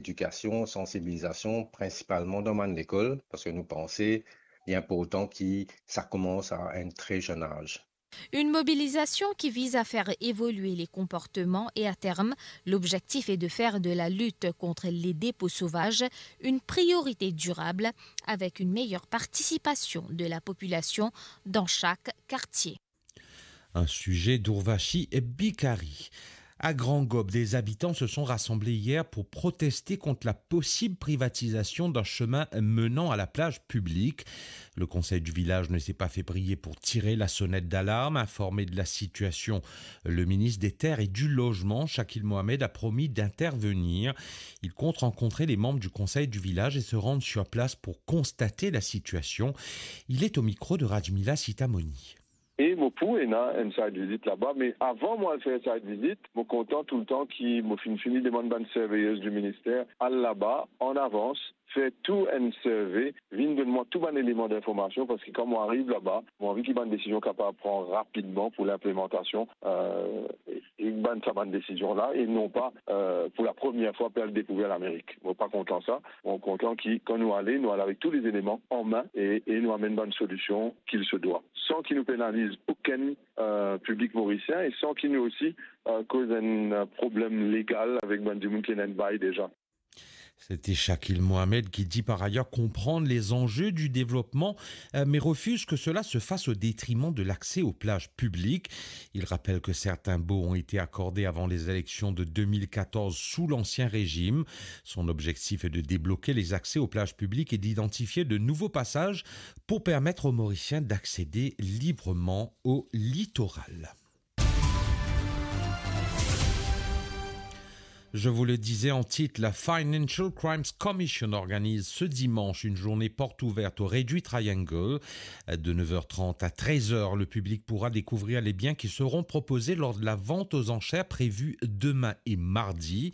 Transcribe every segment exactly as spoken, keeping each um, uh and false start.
Edikasion, sansibilizasion, prinsipalman dan bann lekol, parski nou panse li inportan ki sa koumans a enn tre zenn az. Une mobilisation qui vise à faire évoluer les comportements et à terme, l'objectif est de faire de la lutte contre les dépôts sauvages une priorité durable avec une meilleure participation de la population dans chaque quartier. Un sujet d'Ourvashi Bikari. À Grand Gob, des habitants se sont rassemblés hier pour protester contre la possible privatisation d'un chemin menant à la plage publique. Le conseil du village ne s'est pas fait prier pour tirer la sonnette d'alarme. Informé de la situation, le ministre des Terres et du Logement, Shakil Mohamed, a promis d'intervenir. Il compte rencontrer les membres du conseil du village et se rendre sur place pour constater la situation. Il est au micro de Rajmila Sitamoni. E mo pou ena enn site visit laba, me avan mo al fer site visit, mo kontan touletan ki mo finn fini demann bann surveyors du minister al laba an avans, fer tou enn survey, vinn donn mwa tou bann eleman dinformasion, parski kan mo ariv laba, mo anvi ki bann desizion kapav pran rapidman pou linplimantasion, euh, e, e bann sa bann desizion la, e non pa, euh, pou la premie fwa pe al dekouver Lamerik. Mo pa kontan sa. Mo kontan ki kan nou ale, nou al avek tou lezeleman an me e, e nou amenn bann solision ki se dwa, san ki nou penaliz okenn, euh, piblik morisien e san ki nou osi, euh, koz enn, euh, problem legal avek bann dimoun ki ena enn bay deza. C'était Shakil Mohamed qui dit par ailleurs comprendre les enjeux du développement, euh, mais refuse que cela se fasse au détriment de l'accès aux plages publiques. Il rappelle que certains baux ont été accordés avant les élections de deux mille quatorze sous l'ancien régime. Son objectif est de débloquer les accès aux plages publiques et d'identifier de nouveaux passages pour permettre aux Mauriciens d'accéder librement au littoral. Je vous le disais en titre, la Financial Crimes Commission organise ce dimanche une journée porte ouverte au Réduit Triangle. De neuf heures trente à treize heures, le public pourra découvrir les biens qui seront proposés lors de la vente aux enchères prévue demain et mardi.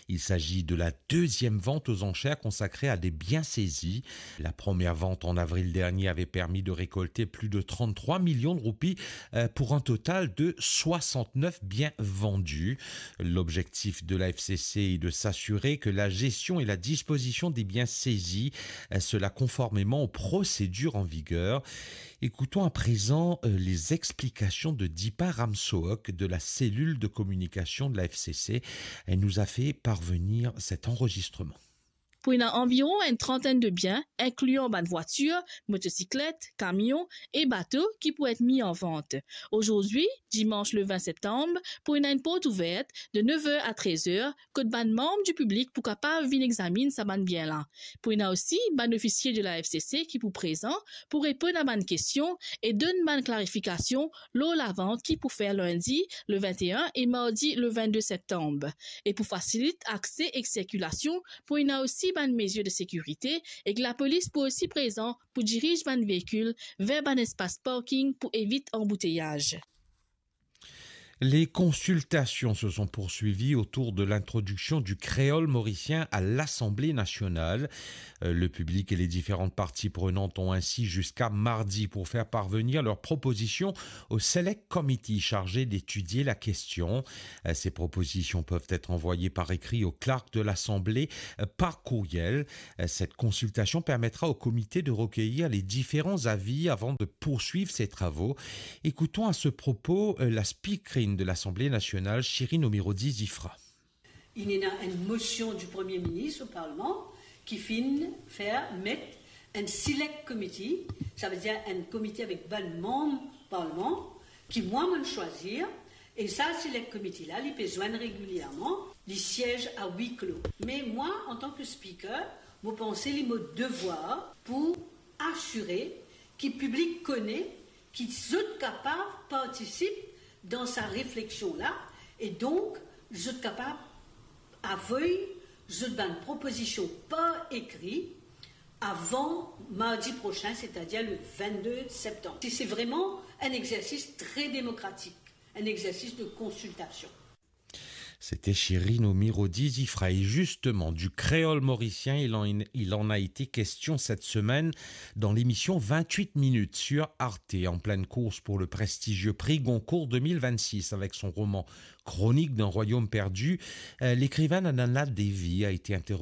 Il s'agit de la deuxième vente aux enchères consacrée à des biens saisis. La première vente en avril dernier avait permis de récolter plus de trente-trois millions de roupies, euh, pour un total de soixante-neuf biens vendus. L'objectif de la F C C est de s'assurer que la gestion et la disposition des biens saisis, euh, cela conformément aux procédures en vigueur. Écoutons à présent, euh, les explications de Deepa Ramsohok de la cellule de communication de la F C C. Elle nous a fait parvenir cet enregistrement. Pou ena anviron enn trantenn de bien, inklian bann vwatir, motosiklet, kamion e bato ki pou et mi an vant. Ozordi, dimans le vin septanm, pou ena enn port ouver de nev er a trez er, kot bann manm di piblik pou kapav vinn examinn sa bann bien la. Pou ena osi bann ofisie de la F C C ki pou prezan pou reponn a bann kestion e donn bann klarifikasion lor lavant ki pou fer lindi le vin e enn e mardi le vin de septanm. E pou fasilit akse ek sirkilasion, pou ena osi bann mezir de sekirite ek lapolis pou osi prezan pou diriz bann veikil ver bann espas parking pou evit anbouteyaz. Les consultations se sont poursuivies autour de l'introduction du créole mauricien à l'Assemblée nationale. Euh, le public et les différentes parties prenantes ont ainsi jusqu'à mardi pour faire parvenir leurs propositions au Select Committee chargé d'étudier la question. Euh, ces propositions peuvent être envoyées par écrit au clerc de l'Assemblée, euh, par courriel. Euh, cette consultation permettra au comité de recueillir les différents avis avant de poursuivre ses travaux. Écoutons à ce propos, euh, la speakerine de l'Assemblée nationale, Shirin Omirodi Zifra. Inn ena enn mosion di Premie Minis o Parlman ki finn fer met enn select committee, savedir enn komite avek bann manm Parlman ki mwa mo'nn swazir, e sa select committee la, li pe zwenn regilierman, li siez a huis clos. Me mwa, antan ki speaker, mo panse li mo devwar pou asire ki piblik kone ki zot kapav partisip dan sa refleksion la, e donk zot kapav avoy zot bann propozision par ekri avan mardi prosin, setadir le vin de septanm. Se, se vreman enn exersis tre demokratik, enn exersis de konsiltasion. C'était Chérine Omirodi Zifra. Et justement, du créole mauricien, il en, il en a été question cette semaine dans l'émission vingt-huit minutes sur Arte, en pleine course pour le prestigieux prix Goncourt deux mille vingt-six avec son roman Chronique d'un royaume perdu. Euh, l'écrivaine Ananna Devi a été interrogée